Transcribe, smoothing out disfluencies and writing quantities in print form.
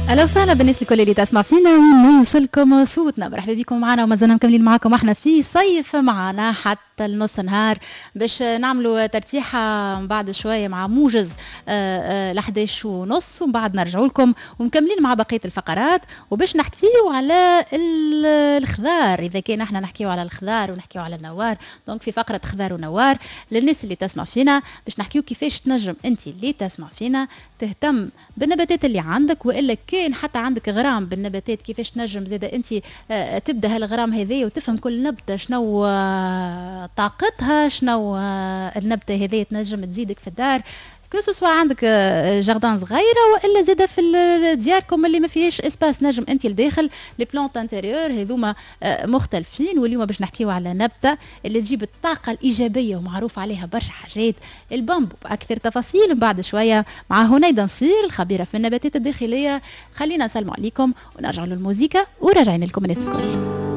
اهلا وسهلا بالناس الكل اللي تسمع فينا وين يوصلكم صوتنا. مرحبا بكم معنا ومازلنا مكملين معكم احنا في صيف معنا حتى النص نهار باش نعملوا ترتيحه بعد شوية مع موجز ل 11:30، ومن بعد نرجعوا لكم ومكملين مع بقية الفقرات وباش نحكيو على الخضار. اذا كان احنا نحكيو على الخضار ونحكيو على النوار، donc في فقره خضار ونوار للناس اللي تسمع فينا باش نحكيو كيفاش تنجم انت اللي تسمع فينا تهتم بالنباتات اللي عندك، والا كان حتى عندك غرام بالنباتات كيفاش تنجم زاده انت تبدا هالغرام هذايا وتفهم كل نبته شنو طاقتها، شنو النبتة هذه تنجم تزيدك في الدار، que ce soit عندك jardin صغيرة والا زاده في دياركم اللي ما فيهاش espace، نجم انت لداخل les plantes intérieures هذوما مختلفين. واليوم باش نحكيو على نبته اللي تجيب الطاقة الايجابية ومعروف عليها برشا حاجات، البامبو، باكثر تفاصيل بعد شوية مع هنيدا نصير الخبيرة في النباتات الداخليه. خلينا نسلموا عليكم ونرجعوا للموزيكا وراجعين لكم الناس الكل.